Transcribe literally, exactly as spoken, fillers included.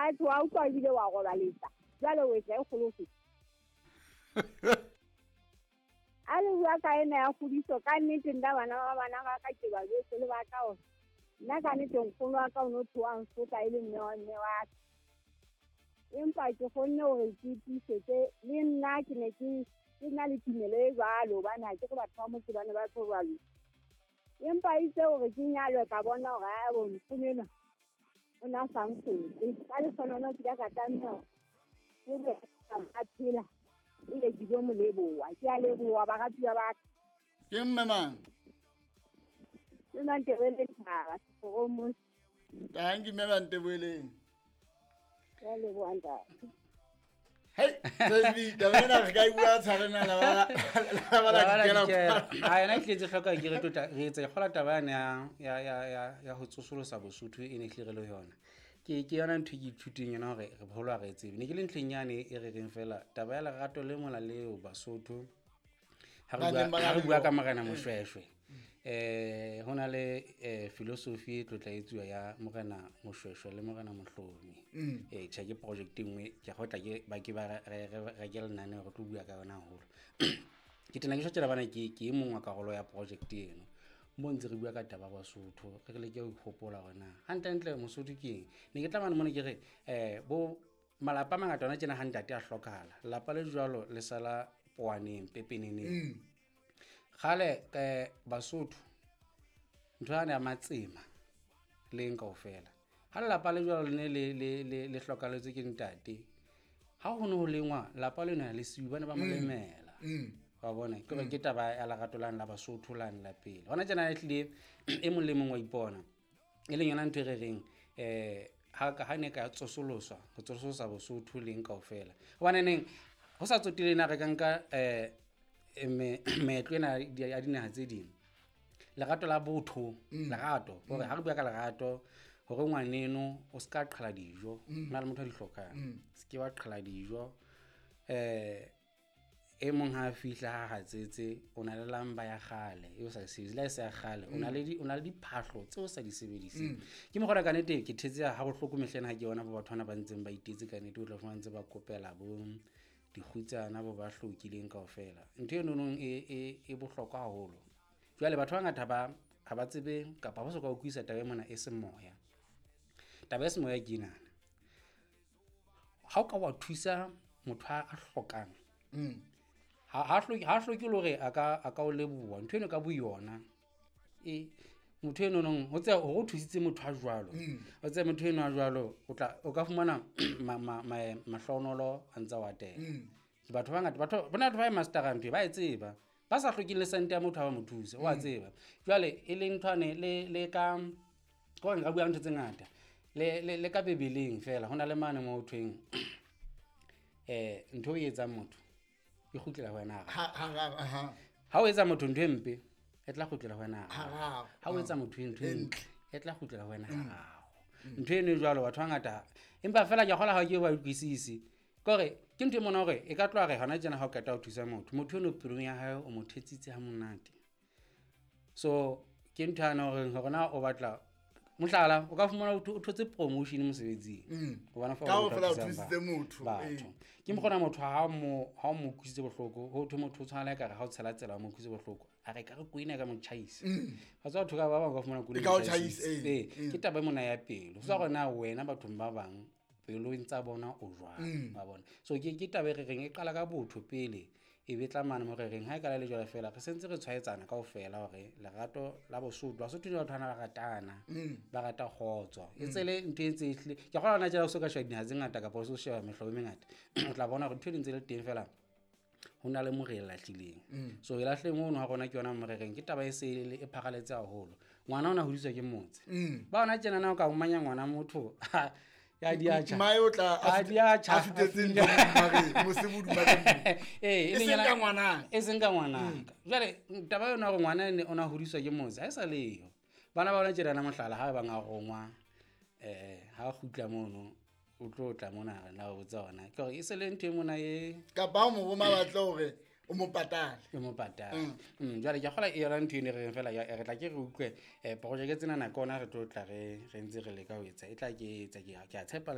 Atjhe, wa utlwa ebile wa robaletsa. Jwale o etsa e kgolo ho feta. A le bua ka ena ya kgodiso, ka nnete nna bana ba bana ba ka ke ba jwetse le ba ka hore nna ka nnete nkgono wa ka o no tloha a nsotla e le mme wa mme wa ka. Empa ke kgonne hore ke tiisetse le nna ke ne ke ke na le tumelo e jwalo hobane ha ke re batho ba motse ba ne ba tlo jwalo. Empa itse hore ke nyalwe ka bona hore ae bo nkgono enwa o na sa nsotle. Ka lehlohonolo ke ile ka tlameha hore ke be a phela ebe ke tlo mo leboha. Ke a leboha baratuwa ba ka. Ke mme mang? Ke Mantebele Thaba, Seforong. Thank you, mme Mantebeleng. Ke a leboha ntate. Hey, Tshepi, taba ena re ka e bua tshwarena la ba la ba la La ba la dikela dikela. kwa. Ha yona e tletse hloka ke re tota re etsa kgola taba yane ya ya ya ya ya ho tsosolosa Bosotho e ne hlile re le yona. Ke ke yona ntho e ke ithuteng yona hore re boholo ha re e tsebe. Ne ke le ntlheng yane e re reng fela taba ya lerato le mola leo Basotho ha re Ba bua neng ba ha re na le bua ka yona. Morena Moshweshwe. Eh ho na le eh philosophy e tlotla etsuwa ya Morena Moshweshwe le Morena Mohlomi. Mm. Eh tjhe ke project e nngwe ke go tla ke ba ke ba re re re ke lenaneo re tlo bua ka yona haholo. Ke tena ke tjho bana ke ke e mong wa karolo ya project eno. Mo ntse re bua ka taba ya Basotho re leke ho ihopola hore na hantlentle Mosotho ke eng. Ne ke tla mane mona ke re eh bo malapa a mangata hona tjena ha ntate a hlokahala lelapa le jwalo le sala powaneng pepeneneng. Mm. Kgale eh Basotho ntho yane ya matsema leng kaofela. Ha lelapa le jwalo le ne le le le le hlokaletswe ke ntate, ha ho ne ho lengwa lapa lena le siuwe ba ne ba mo Mm. lemela. Mm. Wa bona ke hore ke taba ya lerato lane la Basotho lane la pele. Hona tjena ehlile e mong le mong wa ipona. E leng yona ntho e re reng eh ha ka ha ne ka tsosoloswa, ho tsosolosa Bosotho leng kaofela. Hobane neng ho sa tsotile na re ka nka eh me meetlo ena ya dinaha tse ding. Lerato la botho, Mm. lerato, hore ha re bua ka lerato hore ngwaneno o ska qhala dijo, Mm. hona le motho a di hlokang. Mm. Se ke wa qhala dijo. Eh e mong ha a fihla ha hatsetse o na le lamba ya kgale e o sa e sebedise, le ha e se ya kgale, o na le di, o na le diphahlo tseo o sa di sebediseng. Mm. Ke mokgwa ka nnete ke thetse ha bohloko mehleng ha ke bona bo batho bana ba ntseng ba itetse ka nnete, o tla fumana ntse ba kopela bo dikgutsana bo ba hlokileng kaofela. Ntho eno nong e, e, e bohlokwa haholo. Jwale batho ba bangata ba ha ba tsebe kapa ba soka utlwisisa taba e mona e semoya. Taba ya semoya ke ena. Ha o ka wa thusa motho a hlokang, Mm. ha, ha hloke, ha hloke le hore a ka, a ka o leboha. Ntho eno ka boyona, e, motho eno nong, ho tseba hore o thusitse motho a jwalo. Mm. O tseba motho eno a jwalo, o tla, o ka fumana ma, ma, ma, mahlohonolo a ntse a o atela. Mm. Batho ba bangata, batho, bona batho ba e master-ang ntho e, ba e tseba. Ba sa hlokeng le sente ya motho ha ba mo thuse, o a Mm. tseba. Jwale e leng ntho ane le, le ka, ke hore nka bua ntho tse ngata. Le, le, le ka Bibeleng fela, ho na le mane moo ho thweng, eh, ntho e etsang motho e kgutlela ho wena hararo. Ha, hararo, aha. Ha o etsa motho ntho e mpe, e tla kgutlela ho wena hararo. Hararo. Ha o etsa motho ntho e E ntle, ntle. e tla kgutlela ho wena Mm. hararo. Ntho eno e jwalo batho ba bangata, empa fela ke a kgolwa ha ke ba utlwisise. Ke hore ke ntho e mona hore e ka tloha re hona tjena ha o qeta ho thusa motho, motho eno pelong ya hae o mo thetsitse ha monate. So ke ntho yane hore hore na o batla mohlala, o ka fumana o tho-, o thotse promotion mosebetsing. Mm. Hobane fa Ka o ho fela o thusang thusitse ba- motho, batho. ee. Ke mokgona motho ha o mo, ha o mo utlwisitse bohloko, ho thwe motho o tshwana le ekare ha o tshela tsela o mo utlwisitse bohloko, a re ka re koloi ena e ka mo tjhaisa. Mm. Wa tseba batho ka ba bang ba fumana koloi E ka o e tjhaisa, tjhaisitse. ee. Ee, Mm. ke taba e mona ya pelo. Ho sa hore na wena bathong ba bang pelong tsa bona o jwang, Mm. wa bona. So ke, ke taba e re reng e qala ka botho pele, e be tla mane mo re reng ha e kala le jwale fela re sentse re tshwaetsana kaofela hore lerato la Bosotho, Basotho le batho bana ba ratana, Mm. ba rata kgotso. E Mm. tse le ntho e ntse e hlile, ke a kgolwa hona tjena o so ka sheba dinaha tse ngata kapa o so sheba mehlobo e mengata, o tla bona hore ntho e ntse le teng fela ho na le mo re e lahlileng. Mm. So e lahleng ono ha rona ke yona mo re reng ke taba e se e le, e pharaletse haholo. Ngwana ona hodiswa ke motse. Mm. Ba hona tjena na o ka omanya ngwana motho, ya di a tjha. Mmae o tla a A di a tjha. a fetetse ntho mare, mose boduma ka moo. Eh, e E leng seng yona ka ngwanaka. E seng ka ngwanaka. Jwale taba yona hore ngwana ene o na hodiswa ke motse, ha e sa leyo. Bana ba bona tjena na mohlala ha ba bang a rongwa, eh, ha kgutla mono, o tlo tla mona re na o botsa hona. Ke hore e se le ntho e mona e Kapa ha o mo roma ba tla hore o mo patale. O mo patale. Mm. Mm, jwale ke a kgolwa e yona ntho eno e re reng fela, ya, re tla ke re utlwe, eh, projeke tsena nako ona re tlo tla re, re ntse re leka ho etsa. E tla ke etsa, ke a, ke a tshepa le